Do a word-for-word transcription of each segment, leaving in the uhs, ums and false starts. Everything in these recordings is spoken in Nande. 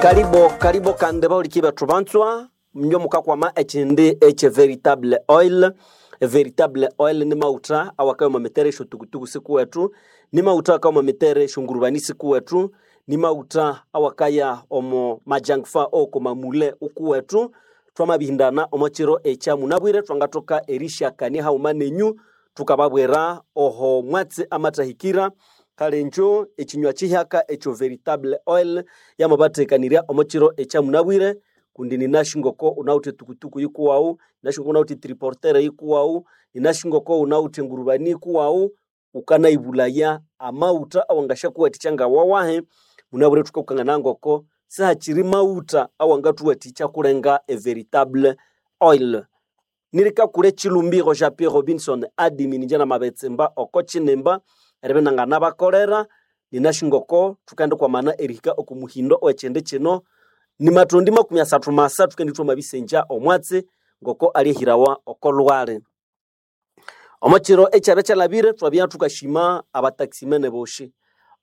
Karibo karibo kandi bauliki bethu banzwa mnyo mukakwama ekindi ekye veritable oil. Veritable oil ni mauta awakayo mitere esyotukutuku sikuwethu, ni mauta akayo mitere esyongurubani sikuwethu, ni mauta awakaya omo majangfa oko mamule ukuwethu. Twamabihindana omo kiro ekya munabwire, twangathoka erishakania haghuma nenyu, tukababwira oho mwatsi amathahikira. Kale injo ekinywa kihyaka ekyo veritable oil yamabathekanirya omo kiro ekya munabwire, kundi ninasi ngoko unawithe tukutuku yikuwawu, ninasi ngoko unawithe triportere yikuwawu, ninasi ngoko unawithe engurubani yikuwawu, ukanayibulaya amawutha awangasyakuwathikya ngawawahi. Munabwire thukakukangana ngoko sihakiri mawutha awangathuwathikya kulenga e veritable oil. Nirikakula ekilumbiro Jean Pierre Robinson admin inje namabetsimba oko kinimba eribya inanganabakolera. Ninasi ngoko thukendikwamana erihika oku muhindo owekindi kino nimathondi makumi asathu masa, thukendi thwamabisengya omwatsi ngoko alyahirawa oko lhwali. Omo kiro ekyabya kyalhabire thwabya thukashima abataximene boshi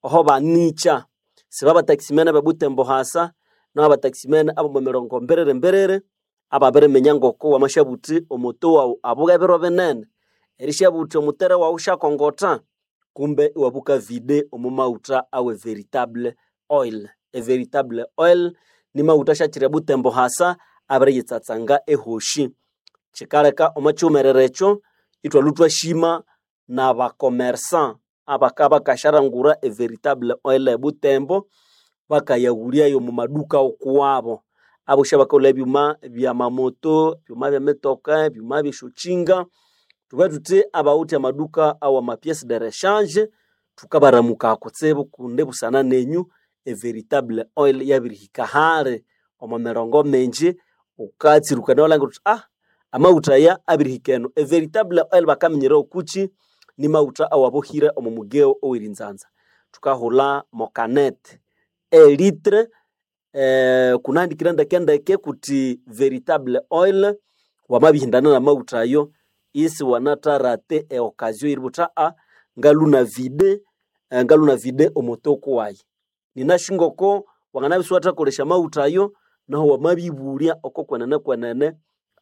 oho banikya, siba abataximene abe Butembo hasa, naho abataximene abomo mirongo mbiriri mbiriri ababiriminya ngoko wamasyabuthi omoto wawu abuge ebiro binene, erisyabuthi omutere wawu syakongotha, kumbe iwabuka vide omo mawutha awe veritable oil. E veritable oil ni mawutha asyakira eButembo hasa abiriyitsatsanga ehoshi. Kyikaleka omo kiwumerere ekyo ithwalwa thwashima n'abakomersa abaka bakasyarangura e veritable oil eButembo, bakayaghulyayo omu maduka ukuwabo. Abosi abakalhwa ebyuma byamamoto, ebyuma byemitoka, ebyuma byesyokyinga, thubughe thuthi abawithe amaduka awama pièces de rechange, thukabaramuka kutsibu kundi busana nenyu e veritable oil yabirihika hali omo mirongo mingi. Wukatsirukana iwalhangira wuthi ah amawutha aya abirihika eno. E veritable oil bakaminyererawo okukyi? Ni mawutha awabohire omo mugeo owerinzanza. Thukahulha mokanete e litre eh, kunahandikire ndekendeke kuthi veritable oil. Wamabihindana namawutha ayo isiwanatharate e occasion eributha a ngaluna vide, ngaluna vide omotoko wayi. Ninasi ngoko wanganabya isiwathakolesya amawutha ayo, nahu wamabibulya oko kwenene kwenene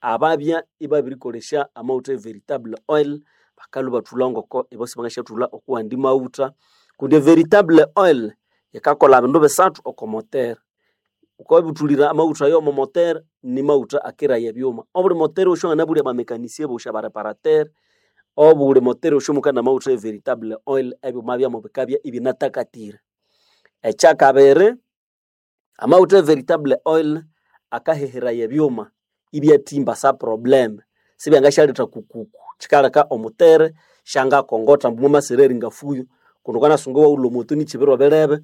ababya ibabirikolesya amawutha e veritable oil, bakalhwa ibathulha ngoko ibo sibangasyathulha okuwandi mawutha. Kundi e veritable oil yikakolha bindu bisathu oko motere. Wukabibuthulira amawutha ayo omo motere, ni mawutha akiraya ebyuma. Obuli motere yosi wanganabulya abamekanisie bosi abareparatere, obuli motere yosi mukana amawutha e veritable oil ebyuma byamu bikabya ibinatakatire. Ekyakabiri, amawutha e veritable oil akaheheraya ebyuma ibyathimba sa problem, sibyangasyaletha kukuku. Kyikaleka omutere syangakongotha ambu mwamasira eringafuyo, kundi wukanasunga iwawulha omoto nikyibiro birebe,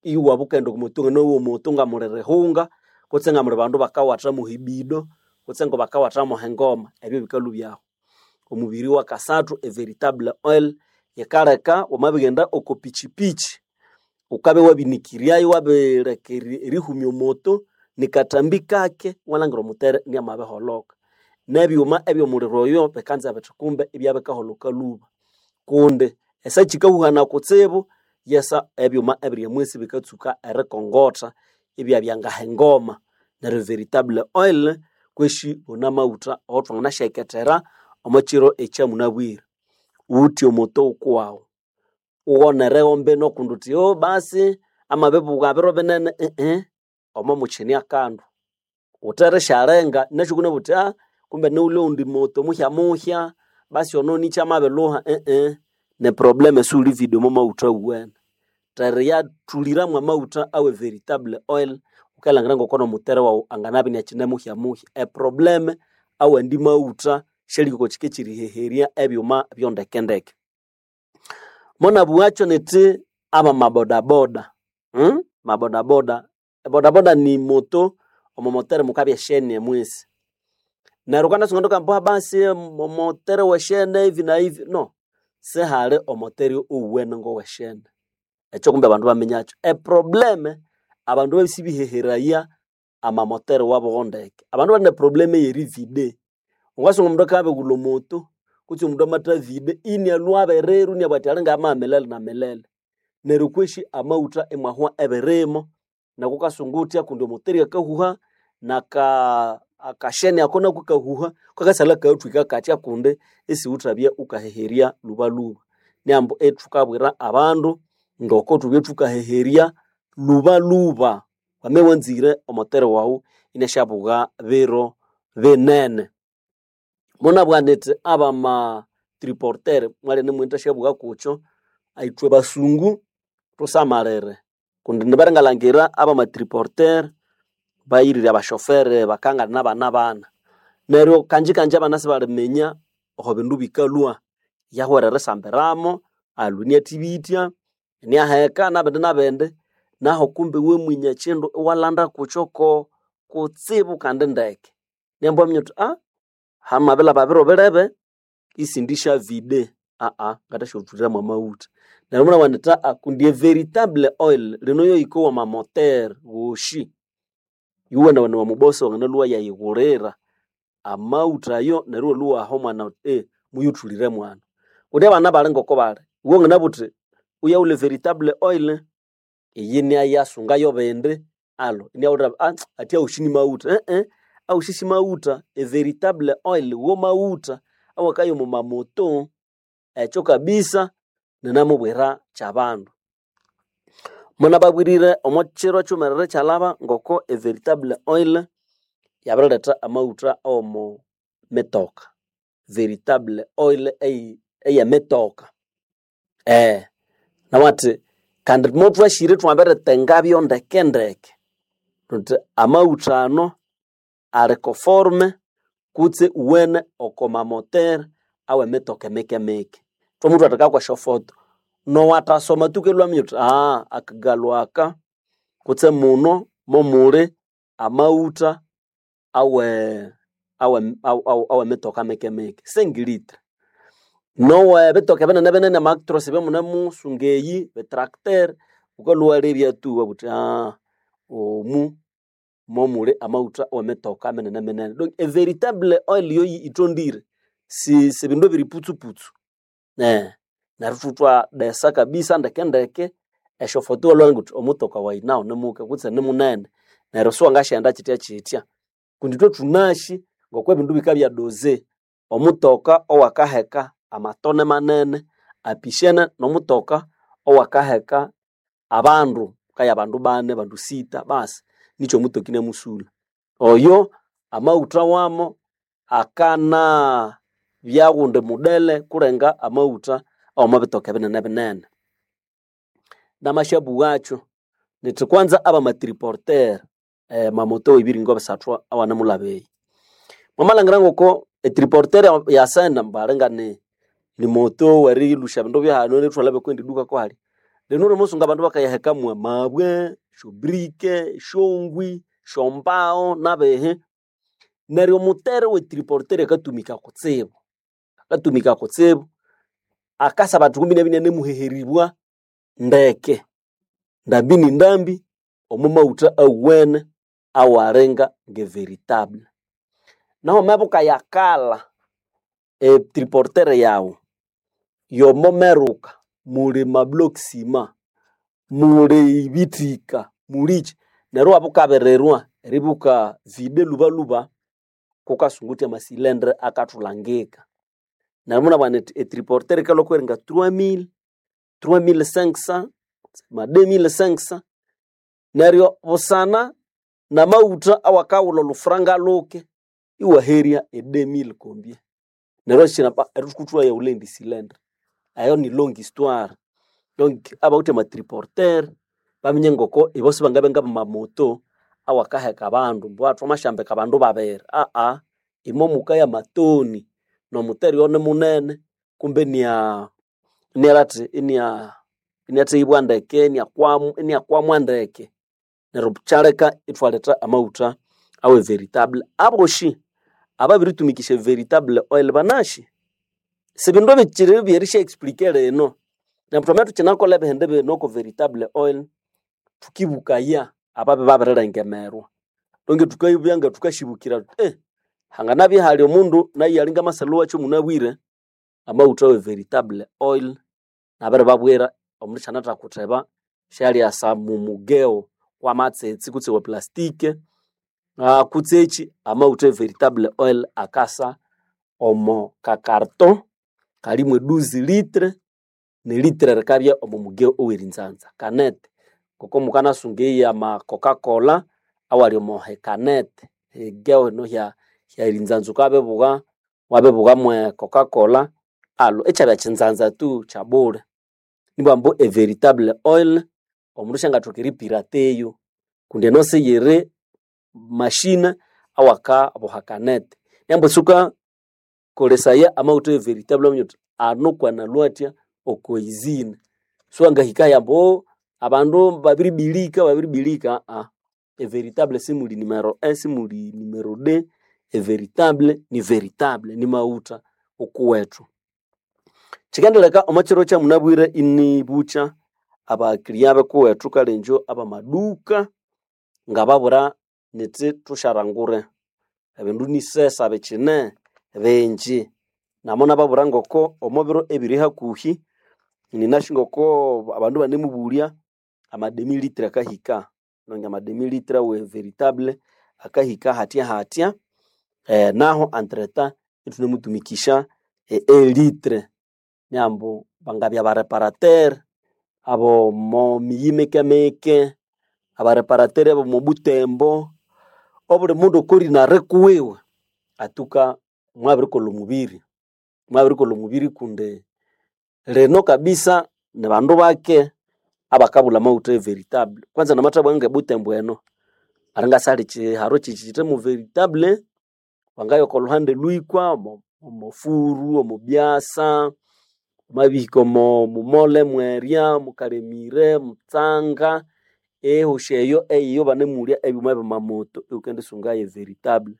iwabya wukaghenda oko moto nganowa omoto ngamuli rihunga kutse ngamuli bandu bakawatha mwehibido kutse ngabakawatha mwehengoma, ebyo bikalhwa ibyahu. Omubiri wakasathu, e veritable oil yikaleka wamabighenda oko pichipichi, wukabya wabinikiryayo wabileka erihumya omoto nikathambi kake iwalhangira omutere inamabiholoka. Nebyuma ebyomuliro oyo bikanza bithi kumbe ibyabikaholoka lhuba, kundi esa kyikahuhana kutsibu yesa ebyuma ebiri omwisi bikatsuka erikongotha ibyabya ngahengoma. Neryo veritable oil kweshi wune amawutha awathwanganasyayikethera omo kiro ekyamunabwire. Wuwithe omoto wukuwawu, wughonerewo mbino kundi wuthi oh basi amabibuga biro binene ihi, omo mukine akandu. Wutherisyalenga nasyo wukabugha wuthi ah kumbe niwuli owundi moto muhyamuhya basi ono nikya amabilhuha ihi, ne probleme esiwulivide omo mawutha awuwene. Theriyathulira mwamawutha awe veritable oil, wukalhangira ngoko nomutere wawu anganabya inakyine muhyamuhya. E probleme awandi mawutha syalihika oko kika ekyeriheherya ebyuma byondekendeke. Monabugha kyo nithi abamabodaboda hmm? Mabodaboda, ebodaboda ni moto, omo motere mukabya esheni emwisi. Neryo wukanasunga wuthi basi omotere weshene hivi na hivi, no, sihali omotere owuwene ngoweshene. Ekyo kumbe abandu baminyakyo. E probleme abandu babisibiheheraya amamotere wabo ndeke. Abandu bali ne probleme eyerivide. Wungasunga omundu akabya omoto kutse omundu amathavide inialhwa abererwa iniabugha athi alinga amaha milele na milele. Neryo kwesi amawutha imwahwa ebirimo. Nako kasungutya kundi omoteri akahuha naka akasheni ako nako kahuha kakasalha kathwika katya kundi isiwuthabya ukaheherya lubaluba. Niambu ethukabwira abandu ngoko thubye thukaheherya lubaluba. Wame wanzire omotere wawu inasyabugha biro binene. Munabugha nithi abama triporter mwalya nimwendisyabugha kukyo, ithwe basungu thusamalire kundi nibaringalhangira abama triporter bayirire abashofere bakangana nabana bana. Neryo kanji kanji abana sibaliminya aho bindu bikalhwa, yahwera erisambiramo, alwe iniathibitya, iniaheka nabindi nabindi, naho kumbe iwe mwinya kyindu iwalanda kukyo ko kutsibu kandi ndeke. Niambu waminya wuthi aa hamabilhaba biro birebe isindisya vide aa ngathasyathwira mwamaghutha. Neryo munabugha indi aa kundi e veritable oil lino yoyikowa omwa motere woshi, yuwenawene omubosi wanganalhwa yayighulira amaghutha ayo neryo iwalhwa iwaha omwana wuthi eh muyuthulire mwana. Kundi abana bali ngoko bali, iwe wanganabugha wuthi wuyaghulhe veritable oil iyi niyayasunga yobindi alho iniaghulira ah athi awosi ni maghutha eh awosi si maghutha, e veritable oil wo maghutha awakaya omo mamoto ekyo kabisa ninamubwira kyabandu. Munababwirire omo kiro kyiwumerere kyalhaba ngoko e veritable oil yabiriletha amaghutha awomo mitoka. Veritable oil eyi eyemitoka eh nawathi kandi mothwasyire ithwabirithengabyo ndeke ndeke thuthi amaghutha ano ali conforme kutse uwene oko mamotere awemitoka emike mike. Thwamuthwatheka kwesyofoto nowathasoma tu kelhwa aminya wuthi aa akagalhu aka kutse muno momuli amaghutha awe awe awemitoka mike mike cinq litre. Nowe bitoka binene binene amaactros ebyamunemusunga eyi bitracteur wukalhwa iwalebya tu iwabugha wuthi aa omu momuli amaghutha awemitoka minene minene. Donc e veritable oil yoyi ithondire si sibindu ebiri putsuputsu eh neryo ithwathwadesa kabisa ndeke ndeke esyofoto iwalhwa wuthi omutoka wayi nawu nimuke kutse nimunene neryo siwangasyaghenda kyitya kyitya. Kundi ithwe thunasi ngoko ebindu bikabya doze, omutoka owakaheka amatone manene apishene nomutoka owakaheka abandu kaya bandu bani, bandu sita basi nikyo omutoka inamusulha. Oyo amaghutha wamo akana bya ghundi mudele kulenga amaghutha awomo bitoka binene binene. Namasyabugha nithi kwanza abamatriporter mamoto ebiringo bisathu awanemulhaba eyi. Mwamalhangira ngoko etriporter yasene balinga ni moto werilhusya ebindu byahano erithwalha byokwendi duka kwahali. Lino wamasunga abandu bakayaheka mwamabwe, esyobrike, esyongwi, esyombaho nabihi. Neryo omutere we triporter akatumika kutsibu, akatumika kutsibu akasaba athi kumbi inabya inanemuheheribwa ndeke ndambi ni ndambi omo maghutha awuwene awalinga nge veritable. Nahu wamabya wukayakalha e triporter yawu yomo meruka muli ma block ciment, muli ibithika, mulikyi neryo iwabya wukabirirwa eribya wuka vide lhubalhuba kukasunga ama cylindre akathulhangika. Neryo munabugha nithi e triporter yikalhwa kweringa trois mille, trois mille cinq cents, ma deux mille cinq cents neryo busana namaghutha awakaghulha olhufuranga lhuke iwaherya e deux mille combien. Neryo erithwayawulha eyindi cylindre eyo ni long histoire. Donc abawithe ama triporter baminye ngoko ibo sibangabya ngabamamoto awakaheka abandu ambu thwamasyambika abandu babiri aa imo mukaya amatoni nomuteri oyo nimunene kumbe inia inialhathi inia iniatheghibwa ndeke iniakwamu iniakwamwa ndeke. Neryo kyaleka ithwaletha amaghutha awe veritable. Abosi ababiritumikisya veritable oil banasi sibindu bikyiri byerisya explique lino. Neryo thwamabya ithukyinakolha ebihindi bino oko veritable oil thukibukaya ababya babirilengemerwa. Donge thukabya nga thukasyibukira thuthi eh hanganabya ihali omundu nayu alinga amasalha wakyo munabwire amaghutha awe veritable oil nabiribabwira omundu syanathakutheba syalyasa mumugeo wamatsitsi kutse wa plastike uh, kutse eki amawutha e veritable oil akasa omo kakarto kalimu eduzi litre nelitre rikabya omo muge owerinzanza kanete koko mukanasunga eyi ama coca-cola awali omo hekanete higeo eno hya hyerinzanza ukabibugha wabibugha mwe coca-cola alo ekyabya kyinzanza tu kyabule nibwambu e veritable oil omundu syangathoka eripirateyo kundi eno siyiri mashine awakaboha kanete nembu suka kolesaya amawutha e veritable waminya wuthi ano kwanalwa athya okoizine siwangahika yambu "Oh, abandu babiribilika babiribilika aa e veritable simuli numero e simuli numero d e veritable ni veritable ni mawutha okuwethu kyikendeleka omo kyiro kyamunabwire inibukya abakiriya bekuwethu kalenjo abamaduka ngababwira nithi thusharangure ebindu nisesa bikyine bingi namo nababwira ngoko omo biro ebiri hakuhi ninasi ngoko abandu banemubulya amademi litre akahika nonge amademi litre we veritable akahika hatya hatya eh, naho entreta ithunemutumikisha e, elitre nyambu bangabya bareparateur abo mo miyi mike abareparateur abo mo butembo obuli mundu okorinare kuwiwe atuka mwabirikolha omubiri mwabirikolha omubiri kundi lino kabisa ni bandu bake abakabulha amawutha e veritable kwanza namathabugha ngebutembo eno aringasali kyiharo kyikyi mu veritable wangaya oko luhande lwikwa omo omo furu omo byasa wamabihika omo mumole mwerya mukalemire mutsanga ehosi eyo eyiyo banemulya ebyuma byamamoto iwukendisungayo veritable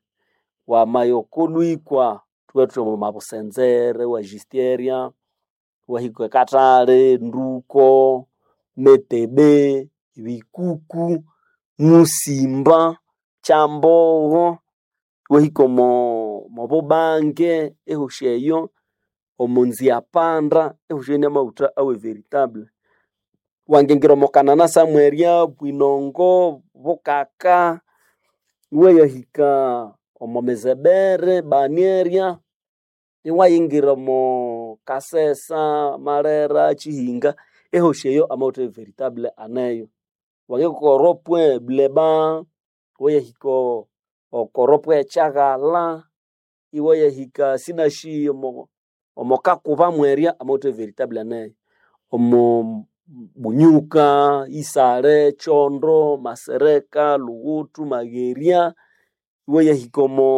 wamaya oko lwikwa thubwathuthi omo mabusenzere iwajistyeria iwahika ekathali nduko metebe bikuku musimba kyambogho iwahika omo mobubange ehosi eyo omo nziapanda ehosi eyo niamawutha awe veritable wangingira omo kanana samwerya bwinongo bukaka iwayahika omo mizebere banyeria iwayingira omo kasesa marera kyihinga ehosi eyo amawutha e veritable aneyo wangahika oko ropwe buleba iwayahika oko ropwe kyaghala iwayahika sinashi omo omo kakuba mwerya amawutha e veritable aneyo omo bunyuka isale kyondo masereka lughuthu magherya iwayahika omo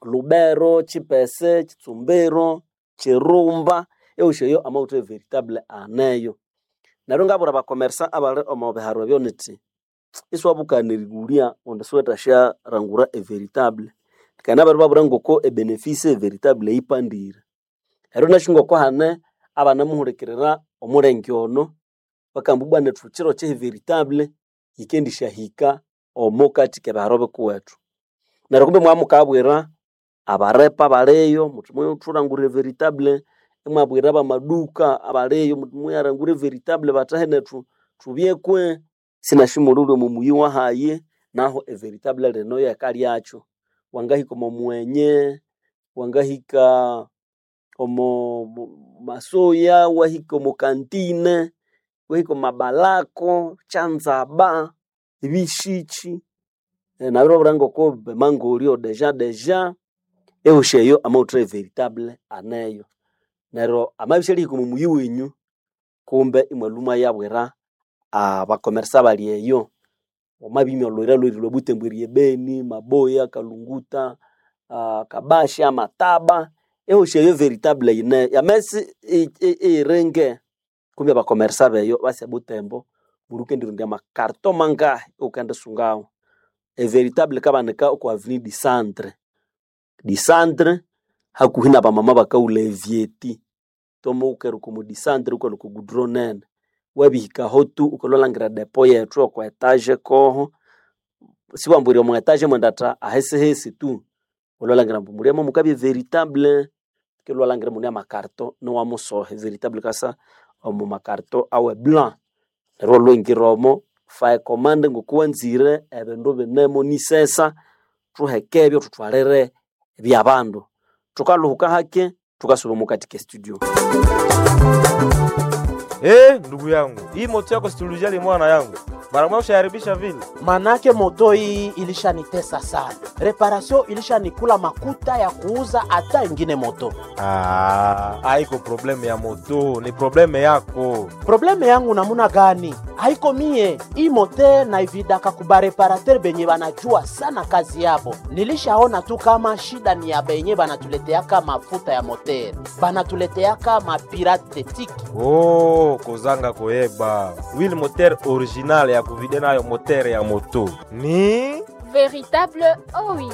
lubero kyipese kyitsumbiro kyirumba ehosi eyo amawutha e veritable aneyo neryo ngabwira abakomersa abali omo biharo ebyo nithi isiwabukana erighulya kundi siwethasyarangura e veritable kandi nabiribabwira ngoko ebenefisi e veritable yipandire neryo nasi ngoko hane abanamuhulikirira omulenge ono bakamba ibwa nethu kyiro kye veritable yikendisyahika omo kathi kebiharo bikuwethu neryo kumbe mwamukabwira abarepa abaliyo muthi muthulangura veritable imwabwira abamaduka abaliyo muthi muyarangura veritable bathahe nethu thubyekwe sinasi mulhuli omo muyi wahayi naho everitable lino yekalyakyo wangahika omo mwenye wangahika omo masoya wahika omo kantine wahika omo mabalako kyanzaba ebishiki nabiribabwira ngoko emangolyo deja deja ehosi eyo amawutha everitable aneyo neryo amabya isyalihika omo muyi wenyu kumbe imwalhwa imwayabwira abakomersa abali eyo wamabya olhuyira lwerilhwa butembo erya Beni, Maboya, Kalunguta, uh, Kabasha, Mataba ehosi eyo veritable yineyo yamesi iyiringe kumbe abakomersa beyo basi ebutembo buli wukendirondya amakarto mangahi iwukendisungawo everitable ikabanika oko avenue du centre du centre hakuhi nabamama bakawulha evyeti tomo wukeruka omo du centre wukalhwa oko goudron nene wabihikaho tu wukalhwa depo yethu oko etage koho siwambwira omo etage mwendatha ahesihesi tu wulwalangira ambu mulyamo mukabya veritable kilwalangira mune amakarto niwamusoha veritable kasa omu makarto awe blanc neryo walwingira omo Fa ecommande ngokuwanzire ebindu binemo nisesa thuhekebyo thuthwalire byabandu. Thukaluhuka hake tukasuba mukati ke studio. Eh, ndugu yangu, hii moto yako situlijali mwana yangu. Mara moja ushaharibisha vile. Manake moto hii ilishanitesa sana, réparation ilishanikula makuta ya kuuza hata ingine moto. Ah, haiko problème ya moto, ni problème yako. Problème yangu namuna gani? Haiko mie hii moto naividaka kuba réparateur benye banajua sana kazi yabo. Nilishaona tu kama shida ni ya benye banatuleteaka mafuta ya moteur, banatuleteaka mapirate tiki. Oh, kozanga koyeba. Huile moteur original ya kuvider nayo moteur ya moto. Ni Véritable oil.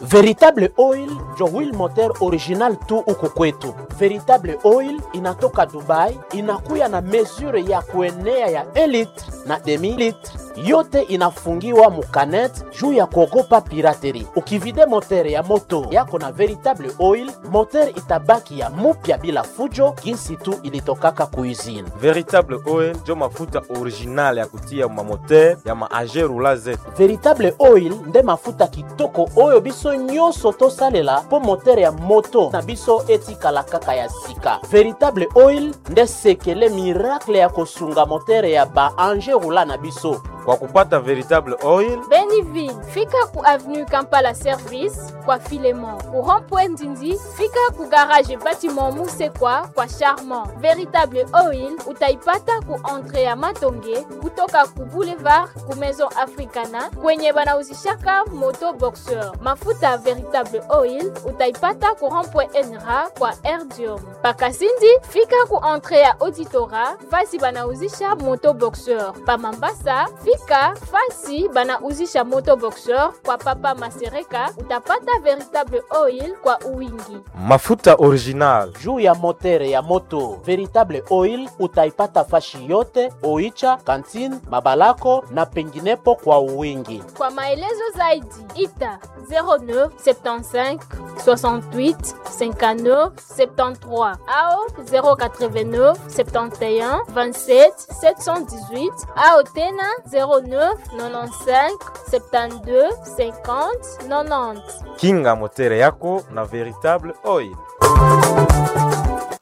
Véritable Oil njo huile moteur original tu huku kwetu. Véritable Oil inatoka Dubai, inakuya na mesure ya kuenea ya un litre na demi litre, yote inafungiwa mu canette juu ya kuogopa piraterie. Ukivider moteur ya moto yako na Véritable Oil, moteur itabaki ya mupya bila fujo, jinsi tu ilitokaka ku usine. Véritable Oil njo mafuta original ya kutia ma moteur ya ma agerula zetu. Véritable Oil nde mafuta kitoko oyo biso nyonso tosalela mpo moteur ya moto na biso etikala kaka ya sika. Véritable Oil nde sekele miracle ya kosunga moteur ya ba engin roulant na biso. Kwa kupata Véritable Oil, Beniville, fika ku avenue Kampala Service kwa Filemon. Ku rond-point Ndindi, fika ku garage bâtiment Musekwa kwa Charmant. Véritable Oil utaipata ku entrée ya Matonge kutoka ku boulevard ku Maison Africana kwenye banauzishaka moto boxeur. Mafuta Véritable Oil utaipata ku rond-point Enra kwa Erdium. Pakasindi, fika ku entrée ya Auditora fasi banauzisha moto boxeur. Pa Mambasa, fika fasi banauzisha moto boxeur kwa Papa Masereka utapata Véritable Oil kwa uwingi. Mafuta original. Juu ya moteur ya moto Véritable Oil utaipata fashi yote Oicha, Kantine, Mabalako na penginepo kwa uwingi. Kwa maelezo zaidi ita zéro neuf soixante-quinze soixante-huit cinquante-neuf soixante-treize au zéro quatre-vingt-neuf soixante et onze vingt-sept sept cent dix-huit au tena zéro neuf quatre-vingt-quinze soixante-douze cinquante quatre-vingt-dix. Kinga moteur yako na Véritable Oil.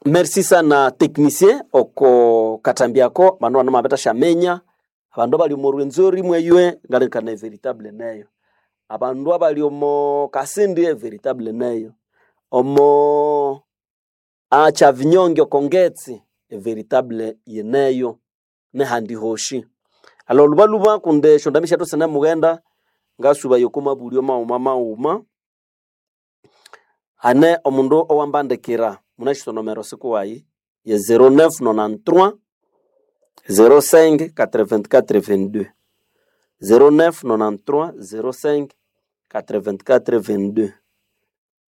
Merci sana technicien oko katambiako bano bano mabeta shamenya abandu abali omo Rwenzori mweywe ngalikana Véritable neyo, abandu abali omo Kasindi Véritable neyo, omo acha vinyonge okongetsi Véritable yeneyo nehandi hoshi. Alo lubaluba kunde shondamisha tosene mughenda ngasuba yoko mabulyo mauma mauma ane omundu owambandikira munashisonomero sikuwayi ye zéro neuf quatre-vingt-treize zéro cinq quatre-vingt-quatre vingt-deux, zéro neuf quatre-vingt-treize zéro cinq quatre-vingt-quatre vingt-deux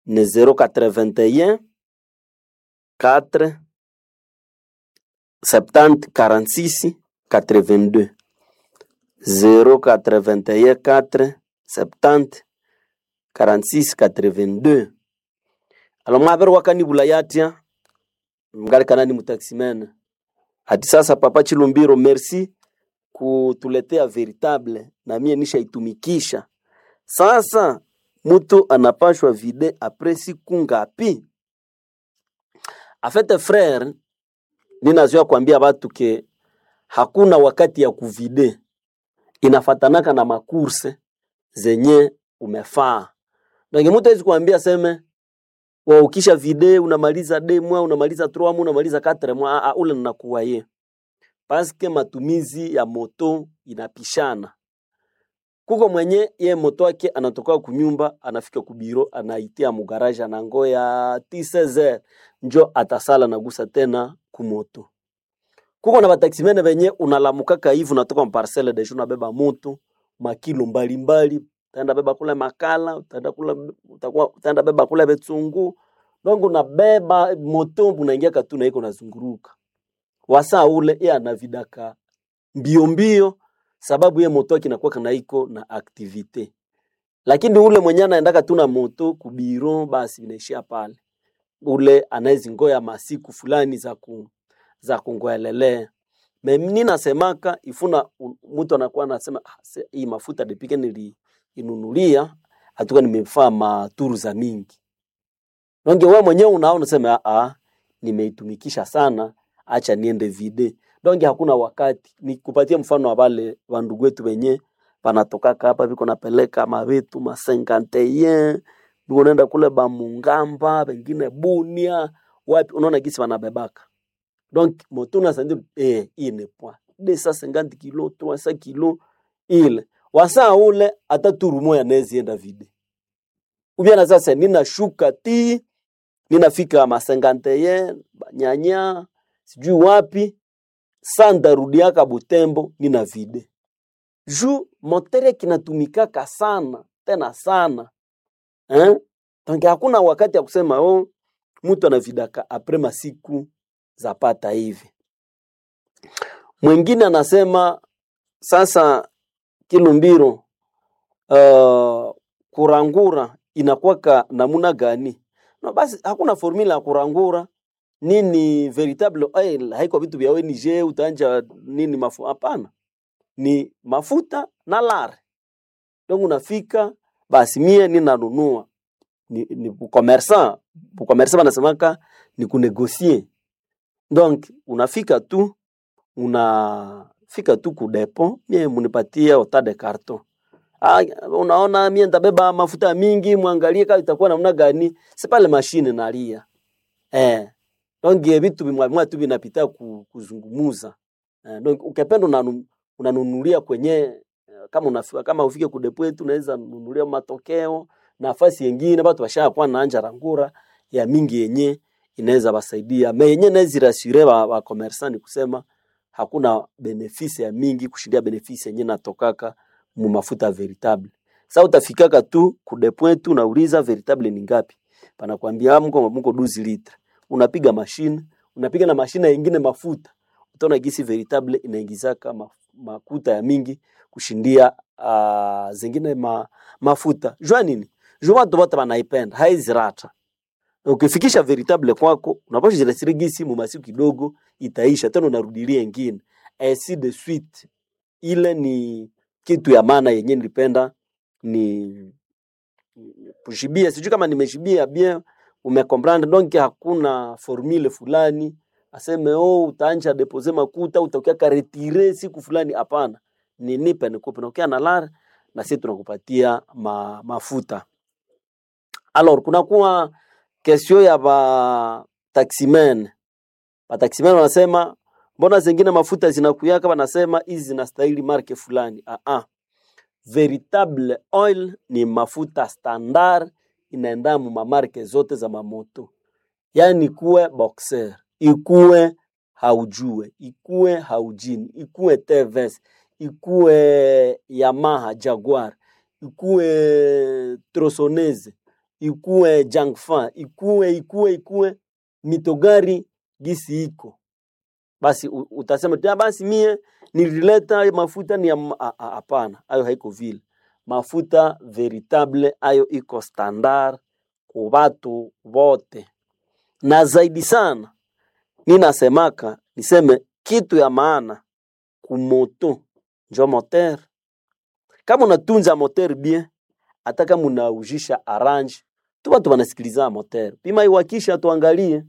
ne zéro quatre-vingt-un quatre soixante-dix quarante-six quatre-vingt-deux, zéro quatre-vingt-un quatre soixante-dix quarante-six quatre-vingt-deux. Alo mwabere wakanibula yatya ngalikana ni mutaximene ati sasa Papa Chilumbiro, merci kutuletea Véritable na mie nishaitumikisha. Sasa mtu anapashwa vider après siku ngapi? Afete frère, ninazoea kuambia watu que hakuna wakati ya kuvider, inafatanaka na macourses zenye umefaa. Donc mtu hawezi kuambia seme wa ukisha vider unamaliza deux mois, unamaliza trois mois, unamaliza quatre mois. Ah, ah, ule ninakuwa ye paske matumizi ya moto inapishana. Kuko mwenye ye moto wake anatoka kunyumba anafika kubiro anaitia mugaraja na ngoya seize heures njo atasala nagusa tena kumoto. Kuko na bataximene benye unalamukaka hivi unatoka mparcelle déjà unabeba moto makilo mbalimbali, utaenda beba kule makala, utaenda kule utakuwa utaenda beba kule betsungu, donc unabeba moto unaingia katuna iko nazunguruka wasa ule ye anavidaka mbio mbio sababu ye moto yake inakuwa kana iko na activité, lakini ule mwenye anaendaka tu na moto kubiro basi inaishia pale. Ule anaezingoya masiku fulani za ku, za kungoelelea. Me ninasemaka ifuna mtu anakuwa anasema ah, se- hii mafuta depike nili inunulia atuka nimefaa maturu za mingi. Nonge wewe mwenyewe unaona unasema ah, ah, nimeitumikisha sana, acha niende vide. Donge hakuna wakati. Nikupatie mfano wa wale wandugu wetu wenye panatokaka hapa biko napeleka mavitu masenkanteyen biko naenda kule bamungamba bengine Bunia wapi, unaona gisi wanabebaka donc moto unasandi eh, hii ni poa deux cent cinquante kilo trois cents kilo ile wasaa ule hata turu moya nezienda vide ubyana sasa ninashuka ti ninafika masenganteye nyanya sijui wapi sandarudiaka Butembo nina vide ju motere kinatumikaka sana tena sana eh? Donc hakuna wakati ya kusema oh, mtu anavidaka apres masiku zapata hivi. Mwingine anasema sasa Kilumbiro, uh, kurangura inakuwaka namuna gani? No, basi hakuna formula ya kurangura nini veritable oil haiko vitu vya O N G utaanja nini mafu hapana, ni mafuta na lare. Donc unafika basi mie ninanunua ni, ni commerçant commerçant wanasemaka ni kunegocier. Donc unafika tu unafika tu ku depot, mie munipatie ota de carton. Ah, unaona mie nitabeba mafuta mingi, mwangalie kama itakuwa namna gani. Si pale mashine nalia eh. Donc eh, vitu bimwa bimwa tu vinapita ku, kuzungumuza eh, donc ukipenda unanu, unanunulia kwenye eh, kama unafika kama ufike ku depot yetu unaweza nunulia matokeo nafasi yengine watu washakuwa na anja rangura ya mingi yenye inaweza basaidia me yenye naweza rassurer ba, ba commerçant ni kusema hakuna benefice ya mingi kushindia benefice yenye natokaka mu mafuta veritable. Sasa utafikaka tu ku depot tu unauliza veritable ni ngapi, panakwambia mko mko douze litre, unapiga mashine unapiga na mashine yengine mafuta, utaona gisi veritable inaingizaka ma, makuta ya mingi kushindia uh, zingine ma, mafuta. Jua nini? Jua watu wote wanaipenda, haizirata. Ukifikisha veritable kwako unapaswa jirasiri gisi mu masiku kidogo itaisha tena, unarudilia ingine ainsi de suite. Ile ni kitu ya maana yenye nilipenda ni kushibia, sijui kama nimeshibia bien, umecomprendre. Donc hakuna formule fulani aseme oh, utaanja depose makuta utakia karetire siku fulani. Hapana, ni nipe nikupe, na ukia na lar na sisi tunakupatia ma, mafuta. Alors kunakuwa kesio ya ba taximen. Ba taximen wanasema mbona zingine mafuta zinakuyaka, wanasema hizi zinastahili marke fulani. Ah ah, veritable oil ni mafuta standard inaenda mu mamarke zote za mamoto, yaani ikuwe boxer, ikuwe haujue, ikuwe haujini, ikuwe T V S, ikuwe Yamaha Jaguar, ikuwe Trosonese, ikuwe Jangfa, ikuwe ikuwe ikuwe mitogari gisi iko basi, u- utasema tu, "Ah, basi mie nilileta mafuta ni ya m-" Ah, ah, hapana, ayo haiko vile. Mafuta veritable ayo iko standard ku batu bote, na zaidi sana ninasemaka niseme kitu ya maana kumoto njo moteur. Kama unatunza moteur bien, hata kama unaujisha arrange tu, watu wanasikiliza moteur, pima iwakisha, tuangalie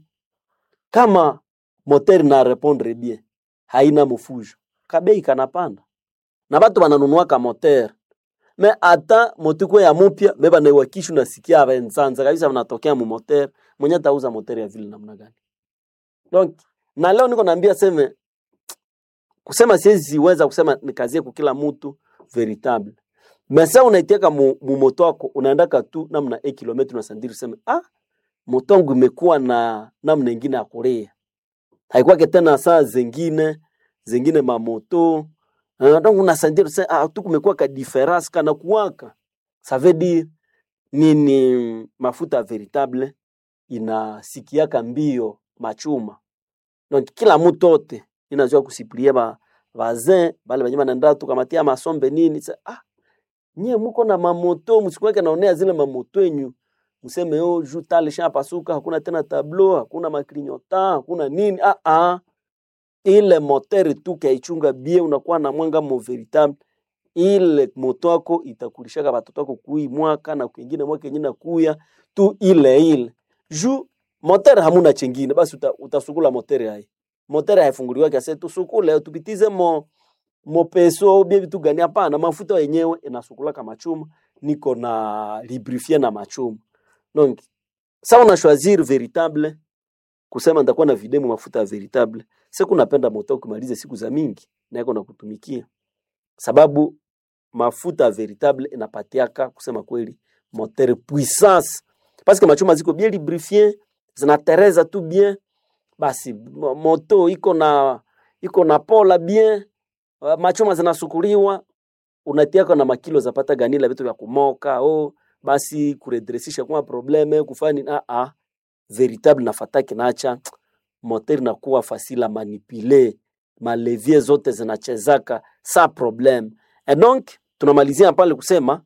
kama moteur na répondre bien, haina mufujo, kabei kanapanda na batu bananunuaka moteur me ata motuko ya mupya me banaiwakisha, unasikia benzanza kabisa banatokea mu moteur mwenye atauza moteur ya vile namna gani? Donc na leo niko naambia seme kusema siwezi weza kusema nikazie kwa kila mtu veritable mesa unaitiaka mu, mu moto wako unaendaka tu namna e kilometre unasandiri useme ah, moto wangu imekuwa na namna ingine ya kulia haikuwake tena saa zingine zingine mamoto uh, donc unasandiri useme ah, tu kumekuwa ka difference kana kuwaka ça veut dire nini? Mafuta veritable inasikiaka mbio machuma donc kila mtu ote inajua kusipulia ba bazin bale banye banaenda tukamatia masombe nini sa, ah nyie muko na mamoto msikuweke naonea zile mamoto yenyu mseme oh juu tale sha pasuka hakuna tena tableau hakuna maklinyota hakuna nini ah ah Ile moteur tu kaichunga bien, unakuwa na mwanga mo véritable ile moto yako itakulishaka batoto wako kui mwaka na kwingine mwaka ingine kuya tu ile ile juu moteur hamuna chengine basi uta, utasukula moteur hai moteur haifunguliwa kiasi tusukule tupitize mo mopeso bie vitu gani hapana mafuta yenyewe inasukulaka machuma niko na lubrifier na machuma donc sa una choisir véritable kusema nitakuwa na videmu mafuta ya véritable siku napenda moto kumaliza siku za mingi na iko na kutumikia sababu mafuta ya véritable inapatiaka kusema kweli moteur puissance parce que machuma ziko bien lubrifié zinatereza tu bien basi mo- moto iko na iko na pola bien uh, machuma zinasukuliwa unatiaka na makilo zapata ganila vitu vya kumoka oh, basi kuredresisha kwa probleme kufani ah, ah, véritable nafataki nacha moteur nakuwa facile à manipuler malevier zote zinachezaka sa problème et donc tunamalizia pale kusema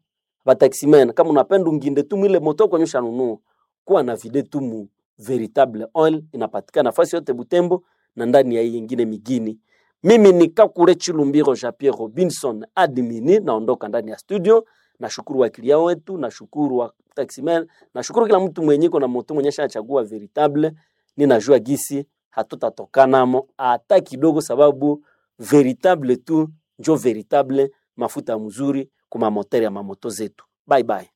bataximen kama unapenda unginde tu mwile moto konyesha nunua kuwa na vide tu mu véritable oil inapatikana nafasi yote Butembo na ndani ya hii ingine migini. Mimi ni Kakure Chilumbiro Jean Pierre Robinson admini, naondoka ndani ya studio. Nashukuru wakilia wetu, nashukuru wa taximen, nashukuru kila mtu mwenye iko na moto mwenye ashachagua véritable. Ninajua gisi hatutatokanamo hata kidogo, sababu véritable tu njo véritable mafuta mzuri kuma moteur ya mamoto zetu. Bye bye.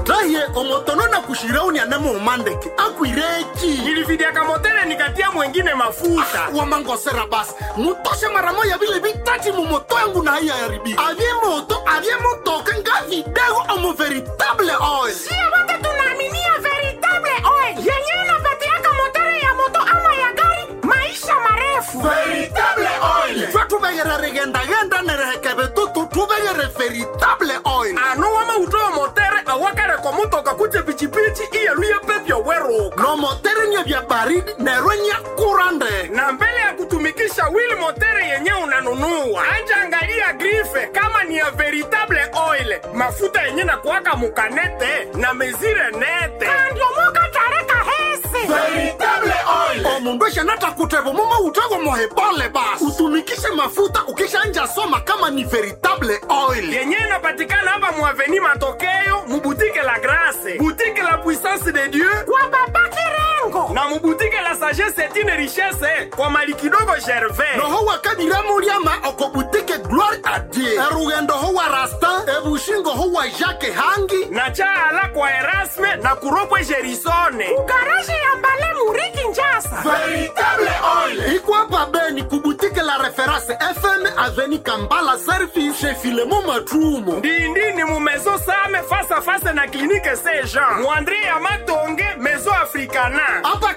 Raye omotono na kushirauni anemo umandeke akwireki. Nilividiaka motere nikatia mwengine mafuta. Wamangosera basi mutoshe mara moya vile vitati mumoto yangu na haiya yaribika avye moto avye motoka nga vidego omo veritable oil. Sio wote tunaaminia veritable oil yenyewe inapatiaka motere ya moto ama ya gari maisha marefu. Veritable oil twa tuvegere rigendagenda nerehekeve tutu tuvegere veritable oil. Ano wamautowa motere awakare komutoka kutse pichipichi iyeluye pepyo weruka. No motere nye vya baridi nerwe nye kurande. Na mbele ya kutumikisha wheel motere yenye unanunua, anja angalia grife kama ni ya veritable oil, mafuta yenye na kuwaka mukanete na mezire nete. Andiomoka tareka hese Veritable oil omundu eshanatakutevo mumo utego mohebole basi utumikishe mafuta ukishanja soma kama ni veritable oil. Yenye inapatikana hapa muaveni Matokeo, mubutike la Grace, butike la Puissance de Dieu kwa baba Kirengo na mubutike la Sagesse etine Richesse kwa mali kidogo Gervais. Noho wakadiramuliama okobutike Gloire a Dieu erugendo ho wa Rastin ebushingo ho wa Jacques Hangi na chaala kwa Erasme na kuropwe Gerisone. Garaji ya Mbale Muriki Njasa. Veritable oil ikwapa beni kubutike la Reference F M aveni Kambala Service chez Filemo Matrumo. Ndindini mu maison Same face à face na clinique Saint Jean. Muandre ya Matonge maison Africana. Apa.